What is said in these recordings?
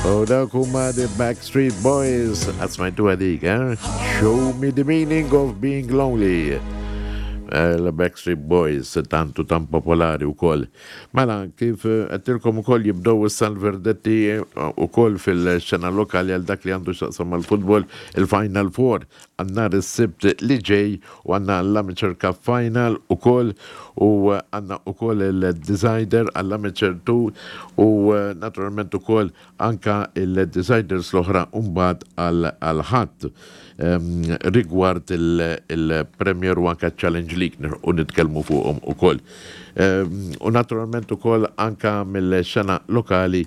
U dawk huma The Backstreet Boys, qatt smajtu dik, eh? Show me the meaning of being lonely. Il-Backstreet Boys tantu tan popolari wkoll. Mela, kif għedtilkom ukoll jibdew issa l-verdetti ukoll fil-xena lokali għal dak li għandu x'taqsam mal-futbol, il-Final Four għal nhar is-Sibt li ġej u għandna l-Amateur Cup Final ukoll u għandna ukoll il-Decider għall-Amateur 2 u naturalment ukoll anka il-Deciders l-oħra mbagħad għall-Ħadd rigward il-Premier u anka Challenge League u nitkellmu fuqhom ukoll. U naturalment ukoll anka mill-xena lokali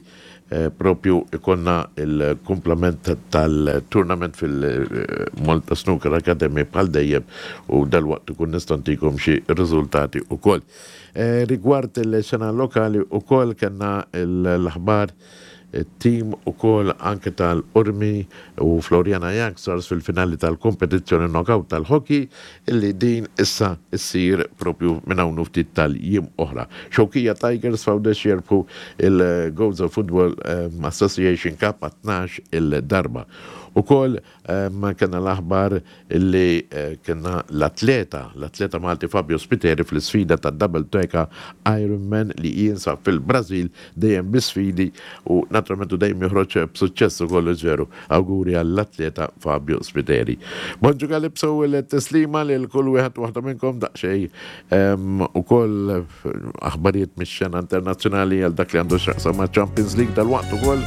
propju ikonna il-kumplament tal-tournament fil-Malta Snooker Academy bħal dejjem u dalwaqt ikun nista' ntikom xi riżultati ukoll. Rigward il-xena lokali ukoll kellna l-aħbar it-tim ukoll anke tal-Qormi u Floriana Youngstars fil-finali tal-kompetizzjoni knockout tal-hockey illi din issa ssir propju minn hawn u ftit tal-jiem oħra. Xewkija Tigers f'Għawdex jirbħu il-Gozo Football Association Cup għat-tnax-il darba. Ukoll kellna l-aħbar li kellna l-atleta, l-atleta Malti Fabio Spiteri fl-isfida tad-Double Teka Ironman li jinsab fil-Brażil dejjem bi sfidi u naturalment u dejjem joħroġ b'suċċess ukoll veru. Awguri għall-atleta Fabio Spiteri. Bonġu Calypso u l-tislima lil kull wieħed u waħda minnkom daqsxejn ukoll aħbarijiet mix-xena internazzjonali għal dak li għandu x'jaqsam ma' Champions League dalwaqt ukoll.